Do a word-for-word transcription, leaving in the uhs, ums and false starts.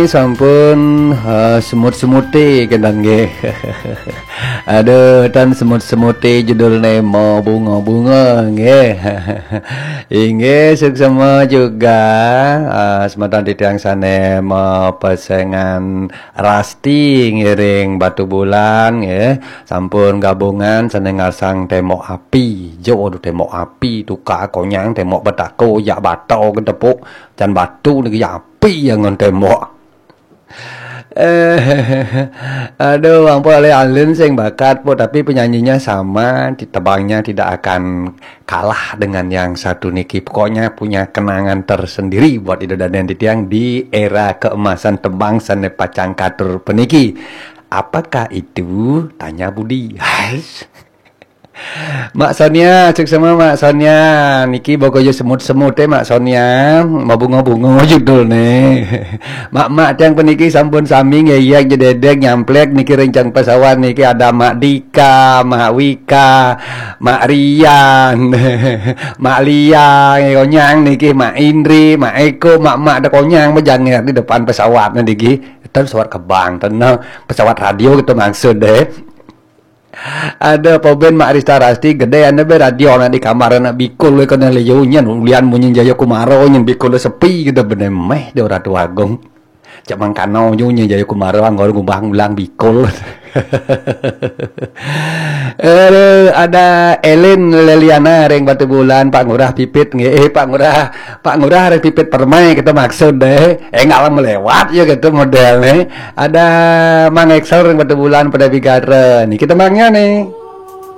Sampun uh, semut-semute kenten nggih. Aduh, tan semut-semute judulne mau bunga-bunga nggih. Inggih, suksema juga uh, semeton titiang sane mapesengan Rasti ngiring Batu Bulan nggih. Sampun gabungan sane ngasang tembok api. Jo, aduh, tembok api, tukar konyang, tembok betako, jak bato ketepuk, jan batu niki api yang ngon tembok. Eh, aduh, Bang Pol, alin sing bakat, Pol, tapi penyanyinya sama, tebangnya tidak akan kalah dengan yang satu niki. Pokoknya punya kenangan tersendiri buat Ida Daden titiang di era keemasan tebang sane pacang katur peniki. Apakah itu? Tanya Budi. Hais. Mak Sonia, suksema Mak Sonia. Niki bogoyo semut-semute Mak Sonia. Mabunga-bunga judulne. Mak-mak tiang peniki sampun sami ngeyek jededek nyamplek niki rencang pesawat niki, ada Mak Dika, Mak Wika, Mak Rian, Mak Lia, konyang niki, Mak Indri, Mak Eko, mak-mak ada konyang bejanger di depan pesawat niki. Itu pesawat kebang, tenang, pesawat radio gitu maksud deh. Ada apa ben Mak Rista Rasti gede ane be radio anak di kamar anak bikul we kena liu nyen ulian munyi Jaya Kumaro nyen bikul sepi gitu bener meh de Ratu Agung. Cak mangkano nyu nyen Jaya Kumaro anggor ngubah ngulang bikul. Eh, ada Elin Leliana ring Batu Bulan, Pak Ngurah Pipit nggih. Eh, Pak Ngurah, Pak Ngurah ring Pipit Permai kita maksud deh. Eh, nggak lama lewat ya gitu modelnya. Ada Mang Excel ring Batu Bulan pada Bigara. Nih kita mangnya nih.